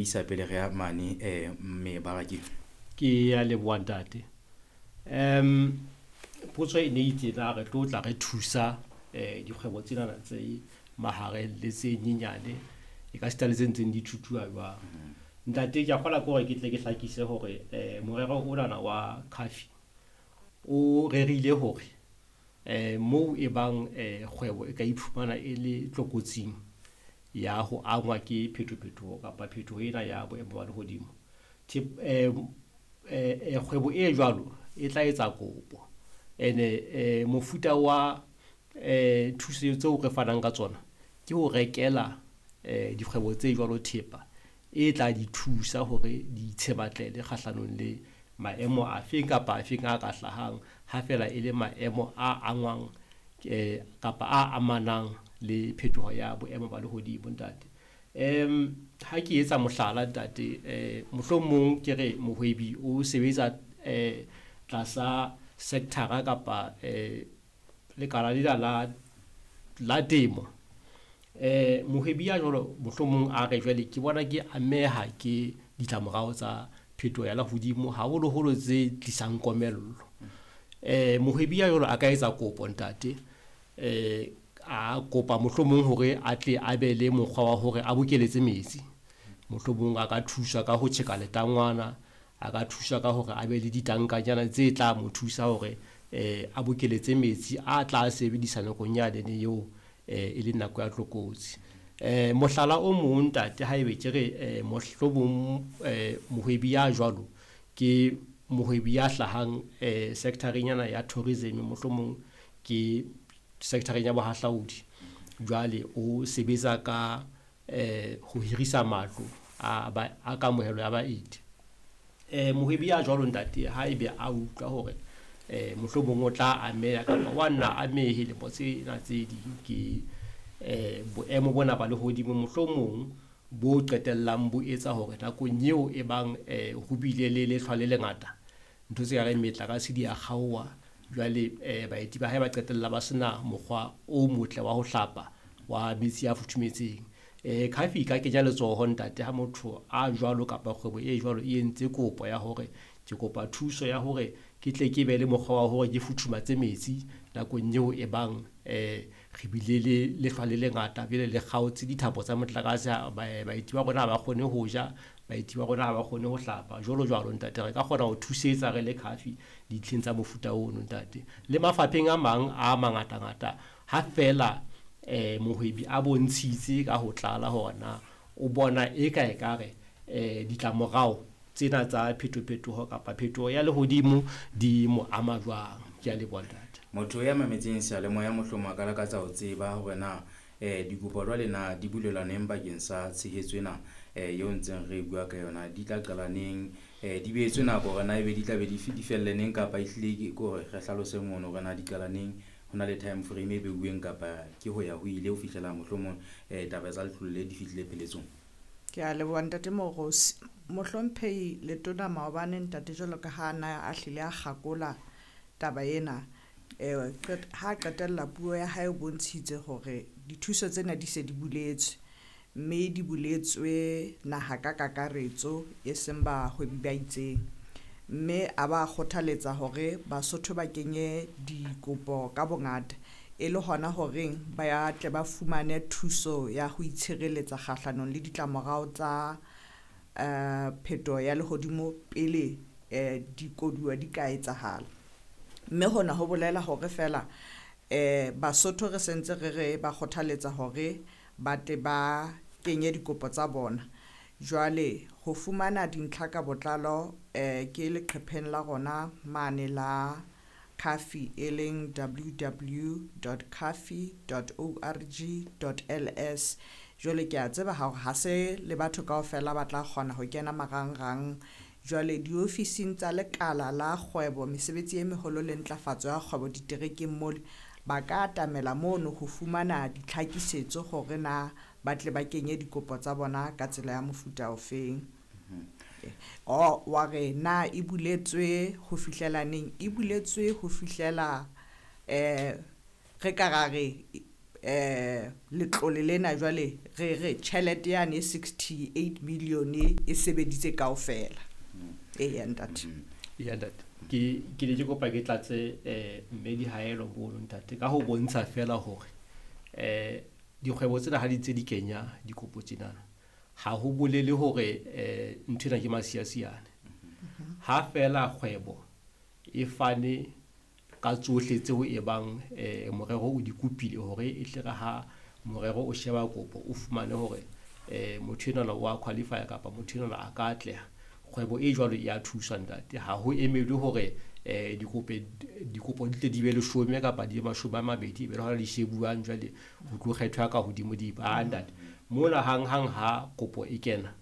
Isa pele re ya mane mebarakeng. Ke ya leboha ntate. Potso e ne itse na re tlo tla re thusa dikgwebo tsenana tse mahareng le tse nyenyane e ka sita le tse ntseng di thuthuha jwang. Ntate ke a kgolwa ke hore ke tle ke hlakise hore morero onana wa CAFI o rerile hore moo e bang kgwebo e ka iphumana e le tlokotsing ya ho angwa ke phetophetoho kapa phetoho ena ya boemo ba lehodimo. Kgwebo e jwalo e tla etsa kopo. Ene mofuta wa thuso tseo re fanang ka tsona ke ho rekela dikgwebo tse jwalo thepa e tla di thusa hore di itshebatlele kgahlanong le maemo afeng kapa afeng a ka hlahang ha fela e le maemo a angwang kapa a amanang le phetoho ya boemo ba lehodimo ntate. Ha ke etsa mohlala ntate, mohlomong ke re mohwebi o sebetsa tlasa sector kapa lekala lena la temo. Mohwebi ya jwalo mohlomong a re jwale ke bona ke ameha ke ditlamorao tsa phetoho ya lehodimo haholoholo tse tlisang komello. Mohwebi ya jwalo a ka etsa kopo ntate, a kopa mohlomong hore a tle a be le mokgwa wa hore a bokeletse metsi. Mohlomong a ka thuswa ka ho tjheka letangwana, a ka thuswa ka hore a be le ditankanyana tse tla mo thusa hore a bokeletse metsi a tla sebedisa nakong yanene eo e leng nako ya tlokotsi. Mohlala o mong ntate haebe ke re mohlomong mohwebi ya jwalo ke mohwebi ya hlahang sector-eng yana ya tourism, mohlomong ke sector-eng ya bohahlaudi. Jwale o sebetsa ka ho hirisa matlo a kamohelo ya baeti. Mohwebi ya jwalo ntate haebe a utlwa hore mohlomong o tla ameha kapa wa nna amehe lemo tsena tse ding ke boemo bona ba lehodimo mohlomong bo qetellang bo etsa hore nakong eo e bang ho bile le lehlwa le lengata, ntho tse kareng metlakase di a kgaoha. Jwale baeti ba hae ba qetella ba sena mokgwa o motle wa ho hlapa wa metsi a futhumetseng. CAFI e ka kenya letsoho ntate ha motho a jwalo kapa kgwebo e jwalo e entse kopo ya hore ke kopa thuso ya hore ke tle ke be le mokgwa wa hore ke futhumatse metsi nakong eo e bang re bile le lehlwa le lengata, jwale le kgaotse dithapo tsa motlakase, baeti ba rona ha ba kgone ho ja, baeti ba rona ha ba kgone ho hlapa jwalo jwalo ntate. Re ka kgona ho thusetsa re le CAFI dintlheng tsa mofuta ono ntate. Le mafapheng a mang a mangatangata ha fela mohwebi a bontshitse ka ho tlala hore na o bona e ka ekare ditlamorao tsena tsa phetophetoho kapa phetoho ya lehodimo di mo ama jwang. Ke a leboha ntate. Motho ya mametseng seyalemoya mohlomong a ka lakatsa ho tseba hore na dikopo jwale na di bulelwa neng bakeng sa tshehetso ena eo ntseng re bua ka yona, di tla qala neng, di behetswe nako hore na ebe di tla be di felle neng kapa ehlile ke hore re hlalose mono hore na di qala neng, ho na le time frame e beuweng kapa ke ho ya ho ile ho fihlela mohlomong taba tsa letlole le di fihlile pheletsong. Ke a leboha ntate Moorosi. Mohlomphehi Letona maobane ntate jwalo ka ha na a hlile a kgakola taba ena, ha qetella puo ya hae o bontshitse hore dithuso tsena di se di buletswe, mme di buletswe naha ka kakaretso e seng bahwebi ba itseng. Mme a ba kgothaletsa hore Basotho ba kenye dikopo ka bongata e le hona horeng ba tle ba fumane thuso ya ho itshireletsa kgahlanong le ditlamorao tsa phetoho ya lehodimo pele dikoduwa di ka etsahala. Mme hona ho bolela hore fela Basotho re sentse re re ba kgothaletsa hore ba tle ba kenye dikopo tsa bona. Jwale ho fumana dintlha ka botlalo ke leqhepheng la rona mane la CAFI e leng www.cafi.org.ls. Jwale ke a tseba hore ha se le batho kaofela ba tla kgona ho kena marangrang. Jwale diofising tsa lekala la kgwebo, mesebetsi e meholo le ntlafatso ya kgwebo diterekeng mole, ba ka atamela mono ho fumana ditlhakisetso hore na ba tle ba kenye dikopo tsa bona ka tsela ya mofuta ofeng. O wa re na e buletswe ho fihlela neng? E buletswe ho fihlela re ka ra re Letlole lena jwale re re tjhelete yane e 68 million e sebeditse kaofela. Eya ntate. Ya ntate, ke ne ke kopa ke tlatse mme Dihaelo mono ntate, ka ho bontsha fela hore dikgwebo tsena ha di ntse di kenya dikopo tsenana, ha ho bolele hore nthwena ke masiasiane. Ha fela kgwebo e fane ka tsohle tseo e bang morero o di kopile hore e tle re ha morero o sheba kopo o fumane hore motho enwana wa qualify kapa motho enwana a ka atleha, kgwebo e jwalo e a thuswa ntate. Ha ho emelwe hore dikopo di tle di be 10 kapa di be 20, e be le hona di shebuwang jwale ho tlo kgethwa ka hodimo di ba ntate. Mona hang hang ha kopo e kena,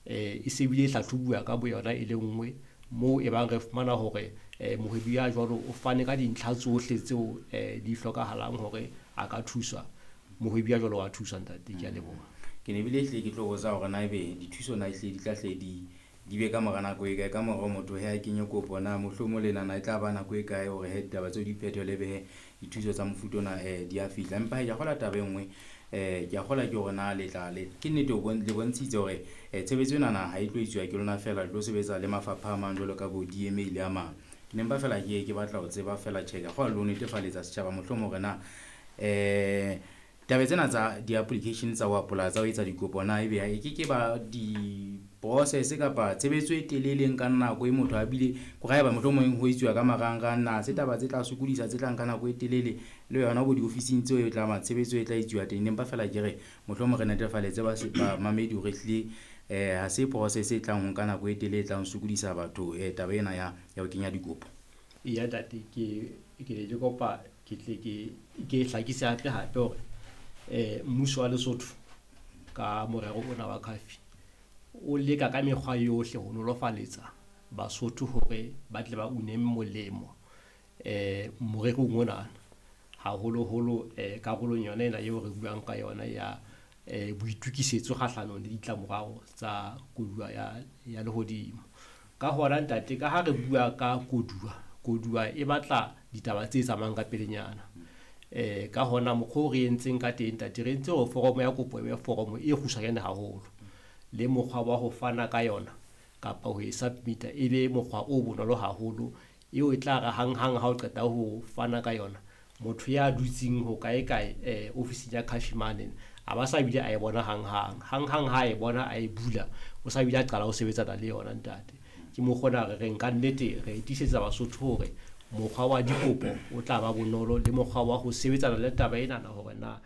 e se bile e hlahlobuwa ka boyona e le nngwe, moo e bang re fumana hore mohwebi ya jwalo o fane ka dintlha tsohle tseo di hlokahalang hore a ka thuswa, mohwebi ya jwalo wa thuswa ntate. Ke a leboha. Ke ne bile ehlile ke tlo botsa hore na ebe dithuso na ehlile di tla hle di be ka mora nako e kae, ka mora motho he a kenye kopo na mohlomong le nana e tla ba nako e kae hore he ditaba tseo di phethele be he dithuso tsa mofuta ona di a fihla. Empa he ke a kgolwa taba e nngwe, ke a kgolwa ke hore na le tla le ke nnete le bontshitse hore tshebetso enana ha e tlo etsuwa ke lona feela, le tlo sebetsa le mafapha a mang jwalo ka bo DMA le a mang. Ke ne mpa fela ke batla ho tseba fela tjhe, ke a kgolwa le ho netefaletsa setjhaba mohlomong hore na taba tsena tsa di-application tsa ho apply, tsa ho etsa dikopo na ebe e ke ke ba di-process kapa tshebetso e telele e nkang nako e motho a bile hore haeba mohlomong ho etsuwa ka marangrang na se taba tse tla sokodisa, tse tla nka nako e telele le yona bo diofising tseo e tla ma tshebetso e tla etsuwa teng. Empa fela ke re mohlomong re netefaletse bamamedi hore ehlile ha se process e tlang ho nka nako e telele e tlang ho sokodisa batho taba ena ya ho kenya dikopo. Eya ntate, ke ne ke kopa ke tle ke hlakise hape hape hore mmuso wa Lesotho ka morero ona wa CAFI o leka ka mekgwa yohle ho nolofaletsa Basotho hore ba tle ba une molemo morerong onana, haholoholo karolong yona ena eo re buang ka yona ya boitukisetso kgahlanong le ditlamorao tsa koduwa ya lehodimo. Ka hona ntate, ka ha re bua ka koduwa, koduwa e batla ditaba tse tsamayang ka pelenyana. Ka hona mokgwa o re entseng ka teng ntate, re entse hore foromo ya kopo e be foromo e kgutshwanyane haholo, le mokgwa wa ho fana ka yona kapa ho e submit-a e be mokgwa o bonolo haholo, eo e tla re hang-hang ha o qeta ho fana ka yona, motho ya dutseng ho kae kae ofising ya CAFI mane a ba sa bile a e bona hang-hang. Hang-hang ha e bona a e bula, o sa bile a qala ho sebetsana le yona ntate. Ke mokgwa ona re reng ka nnete re tiisetsa Basotho hore mokgwa wa dikopo o tla ba bonolo, le mokgwa wa ho sebetsana le taba enana hore na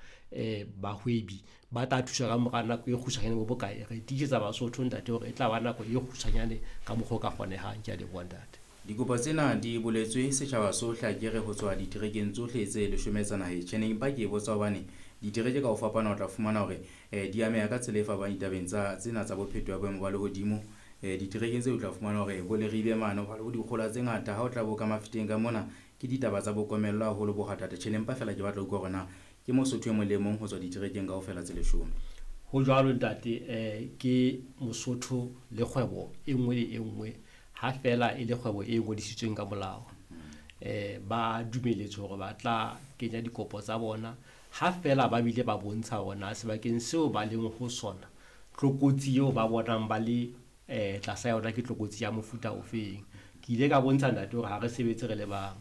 bahwebi ba tla thuswa ka mora nako e kgutshwanyane bo bokae. Re tiisetsa Basotho ntate hore e tla ba nako e kgutshwanyane ka mokgwa o ka kgonehang. Ke a leboha ntate. Dikopo tsena di boletswe setjhaba sohle, akere ho tswa diterekeng tsohle tse 10 tsa naheng. Tjhe, ne empa ke e botsa hobane ditereke ka ho fapana o tla fumana hore di ameha ka tsela e fapaneng ditabeng tsa tsena tsa bophetoho ya boemo ba lehodimo. Diterekeng tseo o tla fumana hore bo Leribe mane ho ba le bo dikgola tse ngata, ha o tla bo ka Mafeteng ka mona ke ditaba tsa bokomello haholo bo kgathatha. Tjhe, ne mpa fela ke batla ho utlwa hore na ke Mosotho e mong le mong ho tswa diterekeng kaofela tse 10. Ho jwalo ntate, ke Mosotho le kgwebo e nngwe le e nngwe ha fela e le kgwebo e ngodisitsweng ka molao. Ba dumeletswe hore ba tla kenya dikopo tsa bona ha fela ba bile ba bontsha hore na sebakeng seo ba leng ho sona tlokotsi eo ba bonang ba le tlasa yona ke tlokotsi ya mofuta ofeng. Ke ile ka bontsha ntate hore ha re sebetse re le bang,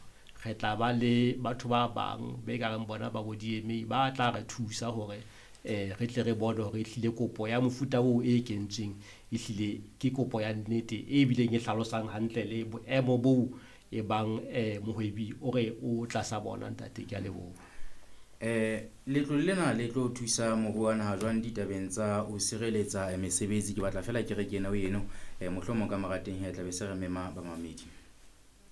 re tla ba le batho ba bang be ka reng bona ba bo DMA ba tla re thusa hore re tle re bone hore ehlile kopo ya mofuta oo e kentsweng ehlile ke kopo ya nnete e bileng e hlalosang hantle le boemo boo e bang mohwebi o re o tlasa bona ntate. Ke a leboha. Letlole lena le tlo thusa moruo wa naha jwang ditabeng tsa ho sireletsa mesebetsi? Ke batla fela ke re ke ena ho eno, mohlomong ka mora teng he tla be se re mema bamamedi.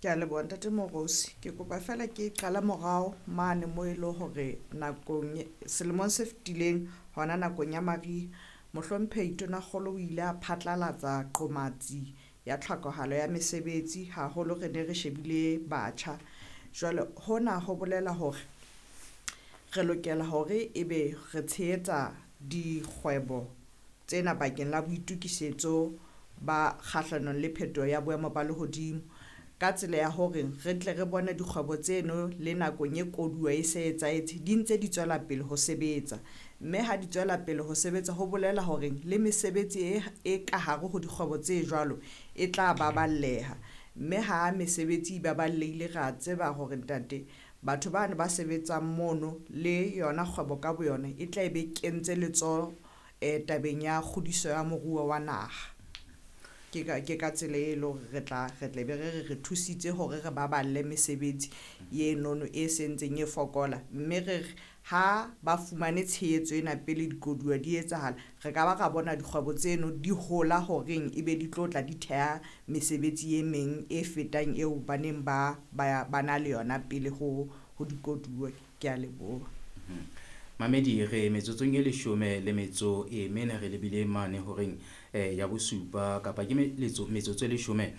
Ke a leboha ntate Morosi. Ke kopa fela ke qala morao mane mo e le hore nakong selemong se fetileng hona nakong ya mariha, mohlomphehi Tonakgolo o ile a phatlalatsa qomatsi ya tlhokahalo ya mesebetsi, haholo re ne re shebile batjha. Jwale hona ho bolela hore re lokela hore ebe re tshehetsa dikgwebo tsena bakeng la boitukisetso ba kgahlanong le phetoho ya boemo ba lehodimo. Ka tsela ya hore re tle re bone dikgwebo tseno le nakong e koduwa e se etsahetse di ntse di tswela pele ho sebetsa. Mme ha di tswela pele ho sebetsa ho bolela hore le mesebetsi e ka hare ho dikgwebo tse jwalo e tla baballeha. Mme ha mesebetsi e baballehile re a tseba hore ntate batho bano ba sebetsang mono le yona kgwebo ka boyona e tla be kentse letsoho tabeng ya kgodiso ya moruo wa naha. Ke ka tsela e leng hore re tla be re thusitse hore re baballe mesebetsi enono e sentseng e fokola. Mme re ha ba fumane tshehetso ena pele dikoduwa di etsahala, re ka ba ra bona dikgwebo tseno di hola horeng ebe di tlo tla di theha mesebetsi e meng e fetang eo ba neng ba na le yona pele ho dikoduwa. Ke a leboha. Mamedi re metsotsong e 14 re lebile mane horeng ya bosupa kapa ke metsotso e 15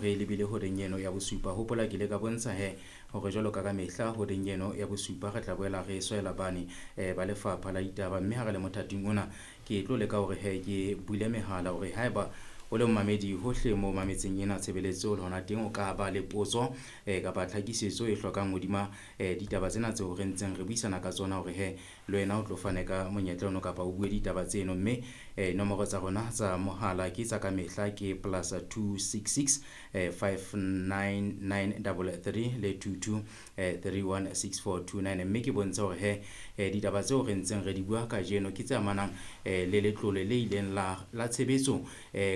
re lebile horeng eno ya bosupa. Hopola ke le ka bontsha he hore jwalo ka mehla horeng eno ya bosupa re tla boela re swela bane ba lefapha la ditaba, mme ha re le mothating ona ke tlo leka hore he ke bule mehala hore haeba o le mmamedi hohle mo mametseng ena tshebeletso le hona teng o ka ba le potso kapa tlhakisetso e hlokang hodima ditaba tsena tseo re ntseng re buisana ka tsona hore he le wena o tlo fane ka monyetla ono kapa o bue ditaba tseno. Mme nomoro tsa rona tsa mohala ke tsa ka mehla ke +266 59933 le 22 316429. Mme ke bontshe hore he ditaba tseo re ntseng re di bua kajeno ke tse amanang le letlole le ileng la tshebetso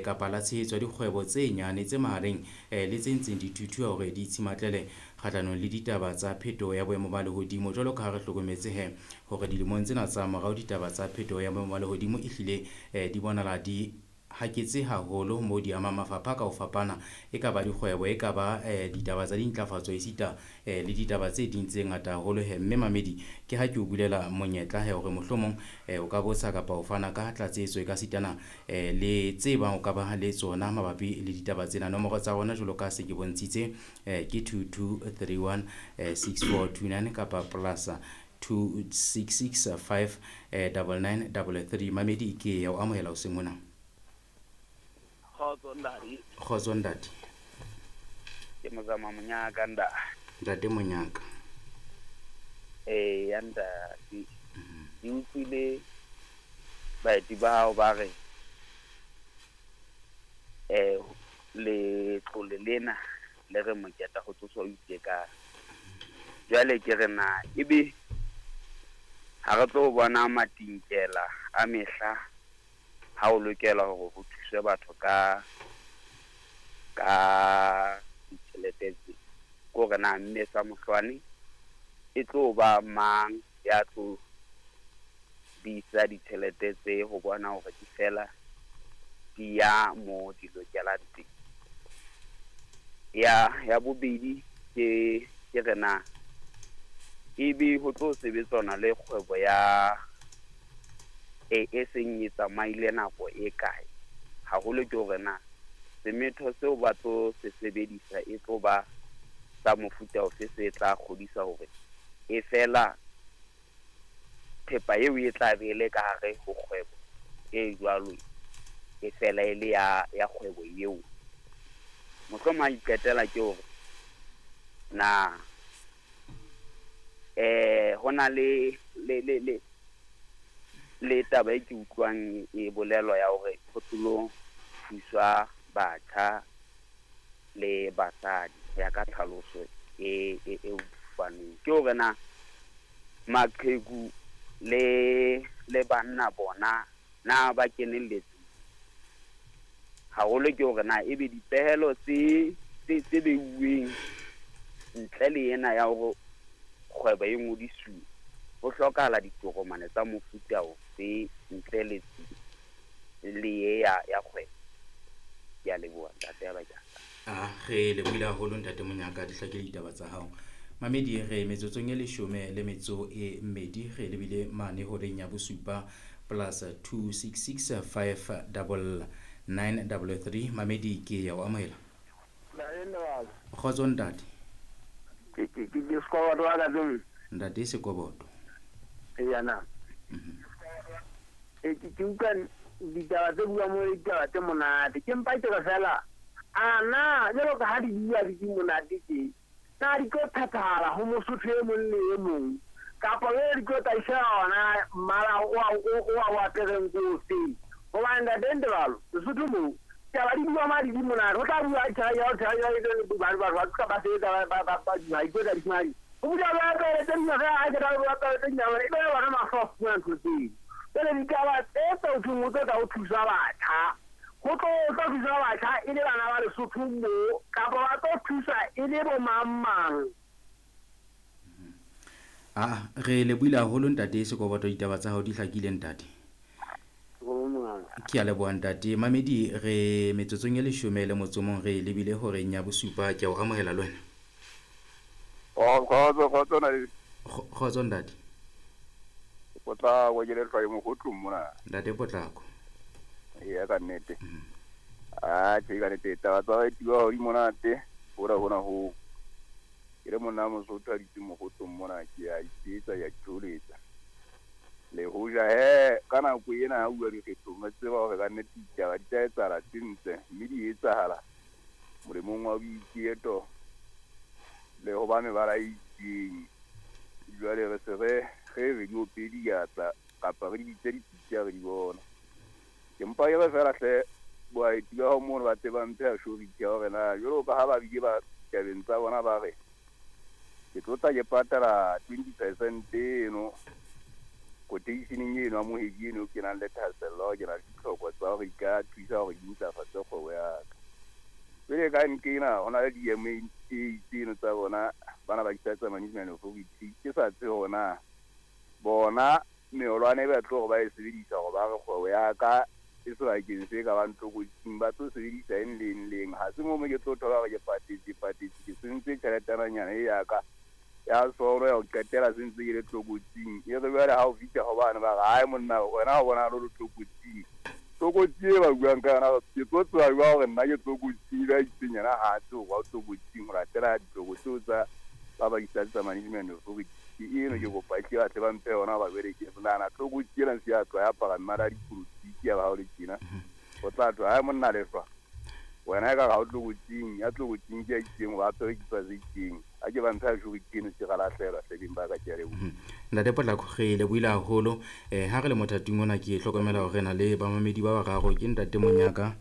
kapa la tshehetso ya dikgwebo tse nyane tse mahareng le tse ntseng di thuthuha hore di itshimatlele kgahlanong le ditaba tsa phetoho ya boemo ba lehodimo. Jwalo ka ha re hlokometse he hore dilemong tsena tsa morao ditaba tsa phetoho ya boemo ba lehodimo ehlile di bonahala di haketse haholo mo di amang mafapha ka ho fapana, e ka ba dikgwebo, e ka ba ditaba tsa dintlafatso, esita le ditaba tse ding tse ngata haholo he. Mme mamedi ke ha ke o bulela monyetla he hore mohlomong o ka botsa kapa o fana ka tlatsetso e ka sitana le tse bang o ka ba le tsona mabapi le ditaba tsena. Nomoro tsa rona jwalo ka se ke bontshitse ke 2231 6429 kapa plus 266 5 9933. Mamedi ke ya o amohela hoseng hona. Kgotso ntate. Kgotso ntate. Ke Mozama Monyaka ntate. Ntate Monyaka. Ya ntate. Ke utlwile baeti ba hao ba re letlole lena le re moketa ho tsoswa o itekang. Jwale ke re na ebe ha re tlo bona matinkela a mehla ha o lokela hore ho thuswe batho ka ditjhelete tse, ko re na mme sa mohlwane e tlo ba mang ya tlo bisa ditjhelete tse ho bona hore di fela di ya mo di lokelang teng. Ya bobedi ke re na ebe ho tlo sebetsana le kgwebo ya e seng e tsamaile nako e kae, haholo ke hore na semetho seo ba tlo se sebedisa e tlo ba sa mofuta ofe se tla kgodisa hore e fela thepa eo e tla be le ka hare ho kgwebo e jwalo e fela e le ya kgwebo eo. Mohlomong ha iqetela ke hore na hona le le taba e ke utlwang e bolelwa ya hore ho tlo thuswa batjha le basadi ya ka tlhaloso e fanweng, ke hore na maqheku le banna bona na ba kenelletse haholo, ke hore na ebe dipehelo tse beuweng ntle le ena ya hore kgwebo e ngodisuwe ho hlokahala ditokomane tsa mofuta ofe ntle le ya kgwebo. Ke a leboha ntate ya bakeng. Re lebohile haholo ntate Monyaka, di hlakile ditaba tsa hao. Mamedi re metsotsong e 12 re lebile mane horeng ya bosupa plus 266 5 9933. Mamedi ke ya o amohela. Kgotso ntate. Ke Sekoboto wa ka. Ntate Sekoboto. Eya na. Ke utlwa ditaba tse buang mo ditaba tse monate. Ke mpa ke re fela A na jwalo ka ha di bua di monate tje, na di tlo phethahala ho Mosotho e mong le e mong, kapa jwale di tlo tla ishela ona mmala o apereng ko ofeng? Hobane ntate Ntebalo, Lesotho moo taba di bua madi di monate, ho tla bua batho ba tloha ba sebetsa ba ikotla di madi. Ho bua ba apere tse ding, ha ke tla bua apere tse ding, e be bona mahlo a fumana ntho tseo. Jwale ditaba tse tsa ho thweng ho tlo tla ho thusa batjha, ho tlo thusa batjha e le bana ba Lesotho moo, kapa ba tlo thusa e le bo mang mang? Re lebohile haholo ntate Sekoboto, ditaba tsa hao di hlakile ntate. Ke a leboha ntate. Mamedi, re metsotsong e 11 re lebile horeng ya 7. Ke a o amohela le wena. Kgotso, kgotso na le. Kgotso ntate. Potlako ke le hlwaye mogotlong mona. Ntate Potlako. Eya ka nnete. Tjhe ka nnete taba tsa baeti ba di monate, hona hona ho. Ke le monna Mosotho a dutse mogotlong mona, ke a itsetsa, ke a itholetsa. Le hoja he ka nako ena ha bua dikgethong, re tseba hore ka nnete ditaba di tla etsahala tse ntle, mme di etsahala molemong wa boiketo le ho ba mebala e itseng. Jwale re se re re di ope diatla kapa re di bitse dipitsa re di bona. Ke mpa ke re fela hle baeti ba hao mono ba tle ba mphe assurance ya hore na jwalo ka ha ba bile ba tabeng tsa bona ba re ke tlo tla ke patala 20% eno quotationeng eno ya mohwebi eno ke nang le thahasello, ke na le ditlhoko tsa hore di ka thusa hore di ntlafatse kgwebo ya ka. Pele ka nkena ho na le di-M_A tseno tsa bona bana ba tsa management authority, ke sa tsebe hore na bona meholwane e ba tlo hore ba e sebedisa hore ba re kgwebo ya ka e sebakeng se ka bang tlokotsing, ba tlo sebedisa eng le eng le eng. Ha se mo ke tlo thola hore ke patetse ke sentse tjheletananyana e ya ka ya solo ya ho qetela se ntse ke le tlokotsing. E re jwale ha o fihla ho bane ba re, hai monna wena o bona lo tlokotsing. Tlokotsi e ba buang ka yona, ke tlo tseba jwang hore nna ke tlokotsing, ba itseng yena ha a tsebe hore o tlokotsing ho latela ditlokotsi tsa ba ba tsa management authority. Ke eno ke kopa e tle ba tle ba mphe yona ba jwale ke nahana tlokotsi ena se ya tloha ya apara mmala ya dipolotiki ya ba hao le tjena. Ho tla thwe, hai monna lehlwa, wena ekare ha o tlokotsing, ya tlokotsing ke ya itseng hoba apere kipa tse itseng. Ha ke ba mphe assurance eno se ra lahlehelwa hlebeng ba ka, ke a leboha. Ntate Potlako, re lebohile haholo. Ha re le mothating ona ke hlokomela hore re na le bamamedi ba bararo, ke ntate Monyaka,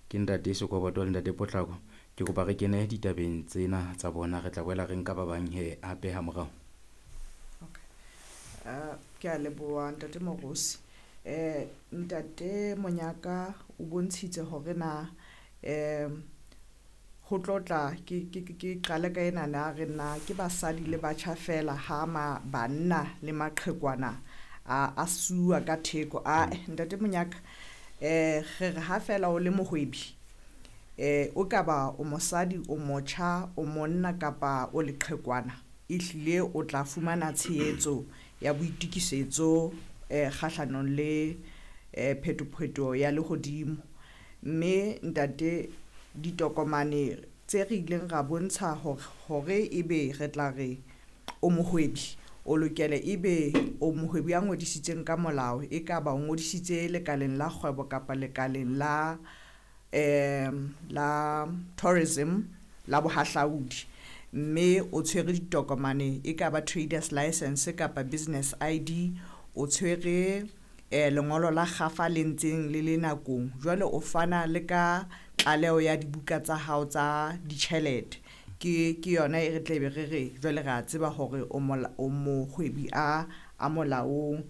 ke ntate Sekoboto le ntate Potlako. Ke kopa re kene ditabeng tsena tsa bona, re tla boela re nka ba bang he hape ha morao. Okay. Ke a leboha ntate Morosi. Ntate Monyaka o bontshitse hore na ho tlotla ke qale ka ena na re na ke basadi le batjha fela ha ma banna le maqhekwana a suwa ka theko. Ntate Monyaka, re re ha fela o le mohwebi, o ka ba o mosadi, o motjha, o monna kapa o leqhekwana, ehlile o tla fumana tshehetso ya boitokisetso kgahlanong le phetophetoho ya lehodimo. Mme ntate, ditokomane tse re ileng ra bontsha hore ebe re tla re o mohwebi, o lokele ebe o mohwebi ya ngodisitseng ka molao, e ka ba o ngodisitse lekaleng la kgwebo kapa lekaleng la la tourism la bohahlaudi, mme o tshwere ditokomane e ka ba traders license kapa business ID, o tshwere lengolo la kgafa le ntseng le le nakong. Jwale o fana le ka tlaleho ya dibuka tsa hao tsa ditjhelete. Ke yona e re tle be re re jwale re a tseba hore o mohwebi a molaong.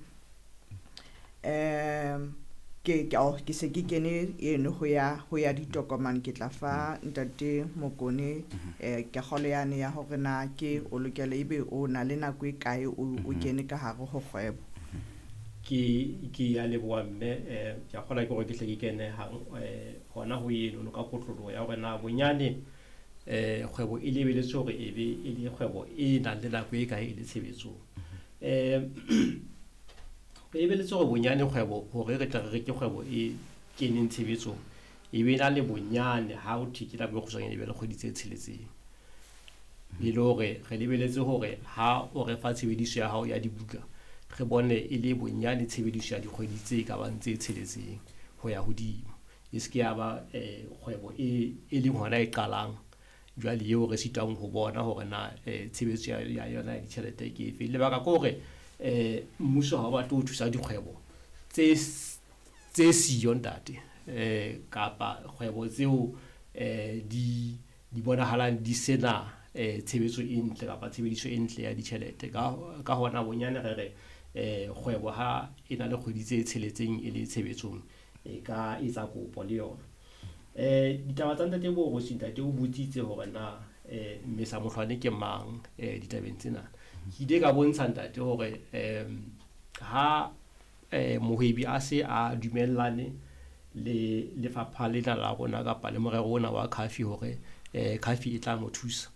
Ke se ke kene eno ho ya ditokomane, ke tla fa ntate Mokone ke kgolo yane ya hore na ke o lokela ebe o na le nako e kae o kene ka hare ho kgwebo. Ke a leboha mme, ke a kgolwa ke hore ke hle ke kene hang hona ho eno ka kotloloho ya hore na bonyane kgwebo e lebeletswe hore e be e le kgwebo e nang le nako e kae e le tshebetsong. Re lebeletse hore bonyane kgwebo, hore re tla re ke kgwebo e keneng tshebetsong, e be na le bonyane ha ho thwe ke nako e kgutshwanyane e be le kgwedi tse 6. E le hore re lebeletse hore ha o re fa tshebediso ya hao ya dibuka, re bone e le bonyane tshebediso ya dikgwedi tse ka bang tse 6 ho ya hodimo. E se ke ya ba kgwebo e leng hona e qalang jwale eo re sitwang ho bona hore na tshebetso ya yona ya ditjhelete ke efe. Lebaka ke hore mmuso ha o batle ho thusa dikgwebo tse siyo ntate, kapa kgwebo tseo di bonahalang di sena tshebetso e ntle kapa tshebediso e ntle ya ditjhelete. Ka hona bonyane re re kgwebo ha e na le kgwedi tse tsheletseng e le tshebetsong e ka etsa kopo le yona. Ditaba tsa ntate Borosi, ntate o botsitse hore na Mmesa Mohlwane ke mang ditabeng tsena. Ke ile ka bontsha ntate hore ha mohwebi a se a dumellane le lefapha lena la rona kapa le morero ona wa CAFI hore CAFI e tla mo thusa.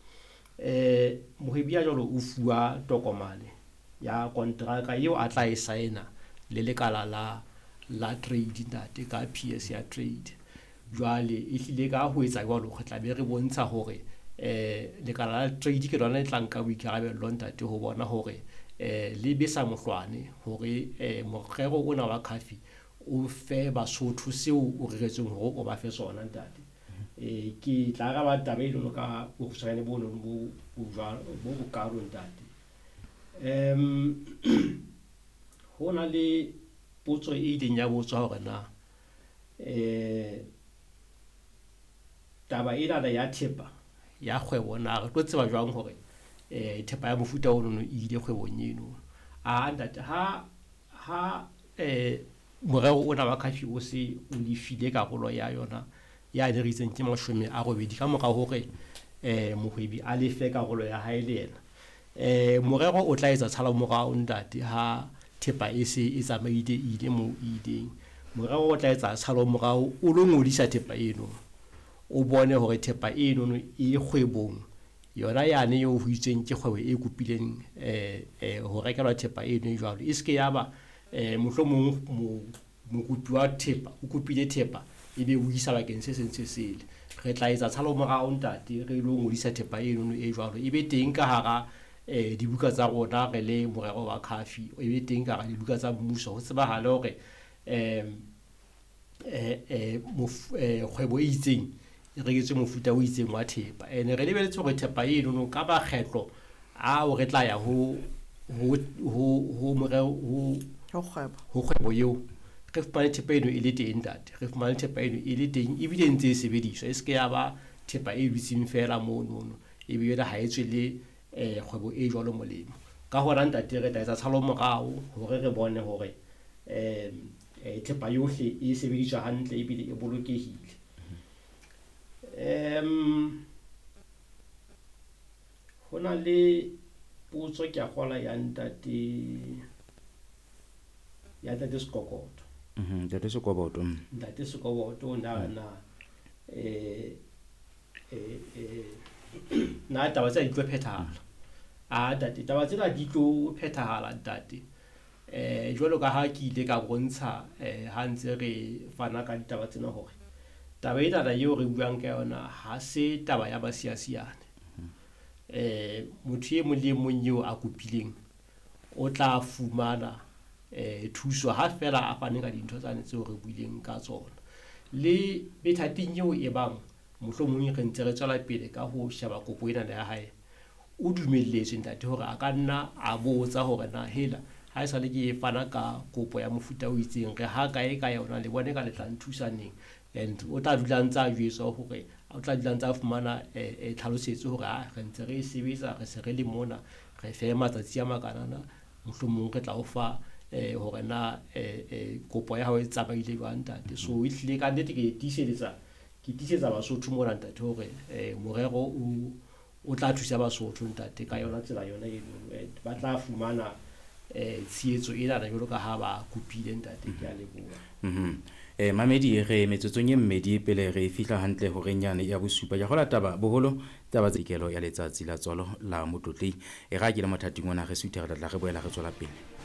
Mohwebi ya jwalo o fuwa tokomane ya kontraka eo a tla e saena le lekala la trade ntate, ka PS ya trade. Jwale e hlile ka ho etsa jwalo re tla be re bontsha hore lekala la trade ke lona le tla nka boikarabello ntate ho bona hore le besa mohlwane hore morero ona wa CAFI o fe Basotho seo o reretsweng hore o ba fe sona ntate. Ke tla araba taba eno ka bokgutshwanyane bo nong bo bokalo ntate. Ho na le potso e ileng ya botswa hore na taba ena ya thepa ya kgwebo na re tlo tseba jwang hore thepa ya mofuta ono e ile kgwebong eno. A ntate, ha morero ona wa CAFI o se o lefile karolo ya yona ya ne re itseng ke 80 ka mora hore mohwebi a lefe karolo ya hae le yena, morero o tla etsa tshala morao ntate ha thepa e se e tsamaile e ile moo e ileng. Morero o tla etsa tshalo morao o lo ngodisa thepa eno, o bone hore thepa eno e kgwebong yona yane eo ho itsweng ke kgwebo e kopileng ho rekelwa thepa eno e jwalo. E se ke ya ba mohlomong mokopi wa thepa o kopile thepa ebe o isa bakeng se seng se sele. Re tla etsa tshalo morao ntate, re lo ngodisa thepa eno e jwalo, e be teng ka hara dibuka tsa rona re le morero wa CAFI, e be teng ka hara dibuka tsa mmuso ho tsebahale hore kgwebo e itseng e reketswe mofuta o itseng wa thepa. Ene re lebeletse hore thepa eno ka makgetlo ao re tla ya ho morero ho kgwebo eo, re fumane thepa eno e le teng ntate, re fumane thepa eno e le teng ebile e ntse e sebediswa, e se ke ya ba thepa e dutseng fela monono ebe yona ha e tswele kgwebo e jwalo molemo. Ka hona ntate re tla etsa tshalo morao hore re bone hore thepa yohle e sebediswa hantle ebile e bolokehile. Ho na le potso ke a kgola ya ntate Sekokoto. Ntate Sekoboto. Ntate Sekoboto na na taba tsena di tlo phethahala. A ntate, taba tsena di tlo phethahala ntate. Jwalo ka ha ke ile ka bontsha ha ntse re fana ka ditaba tsena hore taba ena eo re buang ka yona ha se taba ya basiasiane. Motho e mong le mong eo a kopileng o tla fumana thuso ha fela a fane ka dintho tsane tseo re buileng ka tsona. Le methating eo e bang mohlomong re ntse re tswela pele ka ho sheba kopo ena ya hae, o dumelletswe ntate hore a ka nna a botsa hore na hela ha esale ke fana ka kopo ya mofuta o itseng re ha kae ka yona, le bone ka le tla nthusa neng. And o tla dula ntse a jwetswa hore o tla dula ntse a fumana tlhalosetso hore re ntse re sebetsa, re se re le mona, re fe matsatsi a makanana, mohlomong re tla o fa hore na kopo ya hao e tsamaile jwang ntate. So e hlile ka nnete ke tiisetsa Basotho mona ntate hore morero o tla thusa Basotho ntate ka yona tsela yona eno, ba tla fumana tshehetso ena jwalo ka ha ba kopile ntate. Ke a leboha. Mamedi re metsotsong e mmedi pele re fihla hantle horeng yane ya bosupa. Ke kgola taba boholo taba tsa dikelo ya letsatsi la tswalo la motlotlei. E ra ke le mothating ona re suthe re tla re boela re tswela pele.